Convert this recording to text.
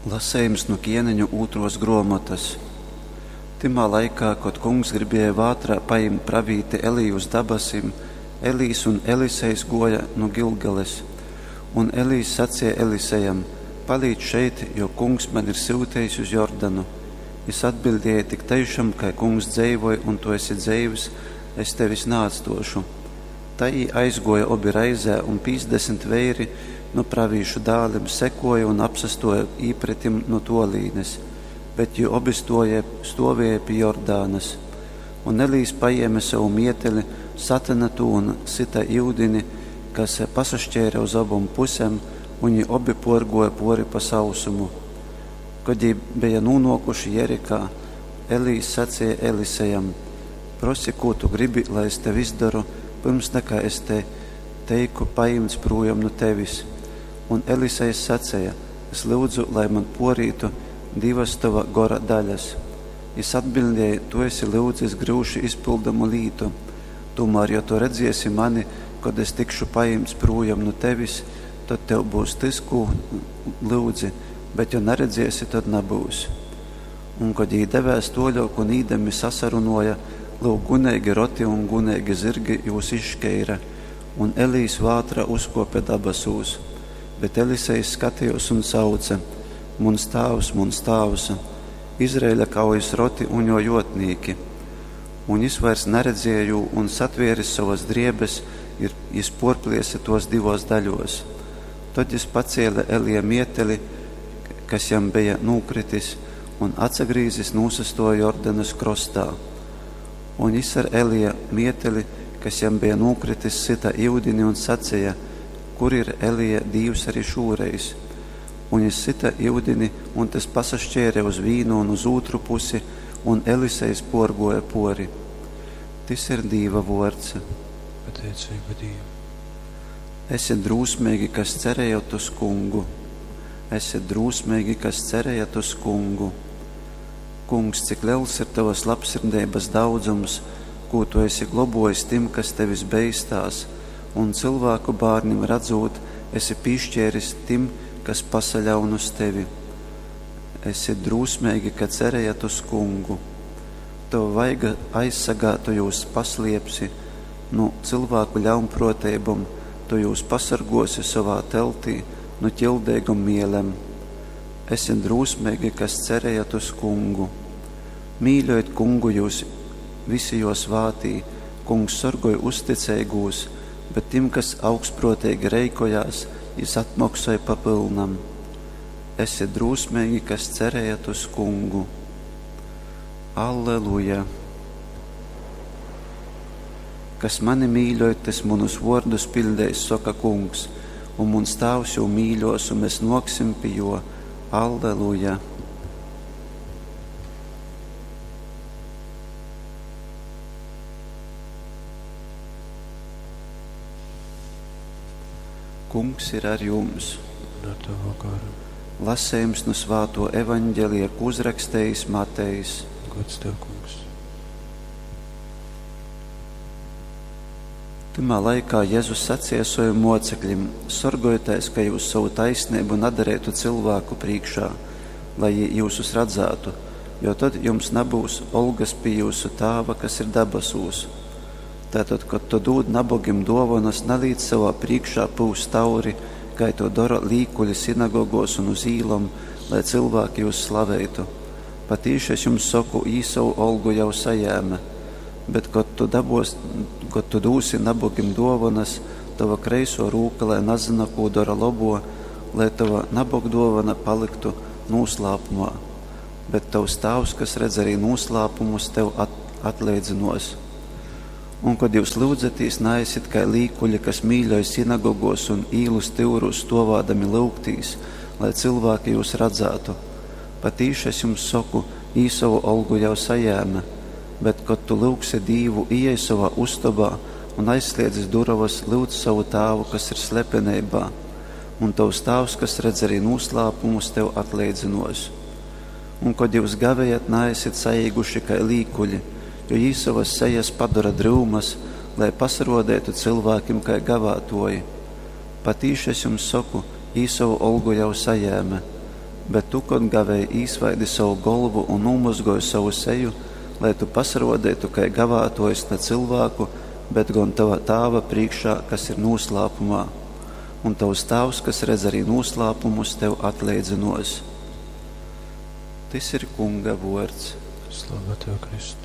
Lasejums nu Kieneņu ūtruos gruomotys. Tymā laikā, kod Kungs gribēja vātrā pajimt pravīti Eliju uz dabasim, Elijs un Elisejs guoja nu Gilgales. Un Elijs saceja Elisejam: Palīc šeit, jo Kungs mani ir syutejis uz Jordanu. Jis atbiļdēja: Tik teišam, kai Kungs dzeivoj un tu esi dzeivs, es tevis naatstuošu. Tai jī aizguoja obi reizē, un 50 veiri nu pravīšu dālim sekuoja un apsastuoja īpretim nu tuolīnes, bet jī obi stuoja, stuovēja pi Jordānas. Un Elijs pajēma savu mieteli, satyna tū un syta yudini, kas pasaškeira uz obom pusem, un jī obi puorguoja puori pa sausumu. Kod jī beja nūnuokuši Jerikā, Elijs saceja Elisejam: Prosi, kū tu gribi, lai es tev izdoru, pyrms nakai es te teiku pajimts prūjom nu tevis. Un Elisejs saceja: Es lyudzu, lai man puorītu divas tova gora daļas. Jis atbiļdēja: Tu esi lyudzis gryuši izpyldamu lītu. Tūmār, jo tu redziesi mani, kod es tikšu pajimts prūjom nu tevis, tod tev būs tys, kū lyudzi, bet jo naredziesi, tod nabyus. Un, kod jī devēs tuoļuok un īdami sasarunuoja, lyuk, guneigi roti un guneigi zyrgi jūs izškeira, un Elijs vātrā uzkuope dabasūs. Bet Elisejs skatejuos un sauce: Muns tāvs, muns tāvs, Izraeļa kaujas roti un juo juotnīki! Un jis vairs naredzēja jū, un satvieris sovas driebes, ir, jis puorpliese tuos divuos daļuos. Tod jis pacēle Elija mieteli, kas jam beja nūkritis, un atsagrīzis nūsastuoja Jordanas krostā. Un jis ar Elija mieteli, kas jam beja nūkritis, syta yudini un saceja: Kur ir Elija Dīvs arī šūreiz? Un jis syta yudini, un tys pasaškeire uz vīnu un uz ūtru pusi, un Elisejs puorguoja puori. Tys ir Dīva vuords. Pateiceiba Dīvam. Esiet drūsmeigi, kas cerējat uz kungu. Esiet drūsmeigi, kas cerējat uz kungu. Kungs, cik liels ir tavas labsirdeibas daudzums, kū tu esi globojis tim, kas tevis beistās, un cilvēku bārnim radzūt, esi pīšķēris tim, kas pasaļaun uz tevi. Esiet drūsmeigi, ka cerējat uz kungu. Tava vaiga aizsagā tu jūs pasliepsi, nu cilvēku ļaunprōteibom, tu jūs pasargosi sovā teltī nu ķildeigom mielem. Esiet drūsmeigi, kas cerējat uz kungu. Mīļojit kungu jūs visi jo svātī, kungs sorgoj uzticeigūs, bet tim, kas augstprōteigi reikojās, jis atmoksoj pa pylnam. Esiet drūsmeigi, kas cerējat uz kungu. Alleluja! Kas mani mīļoj, tys munus vuordus piļdeis, soka kungs, un muns tāvs jū mīļos, un mēs nōksim pi juo. Alleluja! Kungs ir ar jums. Un ar tavu garu. Lasējums nu svāto evaņģelija, ko uzrakstījis Matejs. Gods tev, kungs. Tymā laikā Jezus saceja sovim mocekļim: Sorgojieties, ka jūs savu taisnību nedarētu cilvēku priekšā, lai jī jūsus radzātu, jo tad jums nebūs olgas pie jūsu tāva, kas ir dabasūs. Tātad, kad tu dūd nabogim dovanas, nalīdz savā priekšā pūst tauri, kai to dara līkuļi sinagogos un uz īlom, lai cilvēki jūs slavētu. Patīši es jums saku, jī savu olgu jau sajēma. Bet, kad tu, dabos, kad tu dūsi nabogim dovanas, tava kreiso rūka, lai nazina, ko dara labo, lai tava nabogdovana paliktu noslēpumā. Bet tavs tāvs, kas redz arī noslēpumus, tev at, atleidzinos. Un, kad jūs lūdzaties, neesiet kā līkuļi, kas mīļoja sinagogos un īlu styurūs stovādami lūgtīs, lai cilvēki jūs redzētu. Patīši es jums saku, jī savu olgu jau sajēma. Bet, kad tu lūgsi Dīvu, ieej savā ustabā un aizsliedzis durovas, lūdz savu tāvu, kas ir slepenībā, un tavs tāvs, kas redz arī noslēpumus, tev atleidzinos. Un, kad jūs gavējat, neesiet saīguši kā līkuļi, jo jī savas sejas padara dryumas, lai pasarodētu cilvēkiem kā gavātoji. Patīši es jums saku, jī savu olgu jau sajēma. Bet tu, kod gavēj, īsvaidi sovu golvu un nūmozgoj sovu seju, lai tu pasarōdeitu kai gavātōjs na cylvāku, bet gon tova Tāva prīškā, kas ir nūslāpumā. Un tovs Tāvs, kas redz arī nūslāpumus, tev atleidzynōs. Tys ir Kunga vōrds. Slava Tev, Kristu!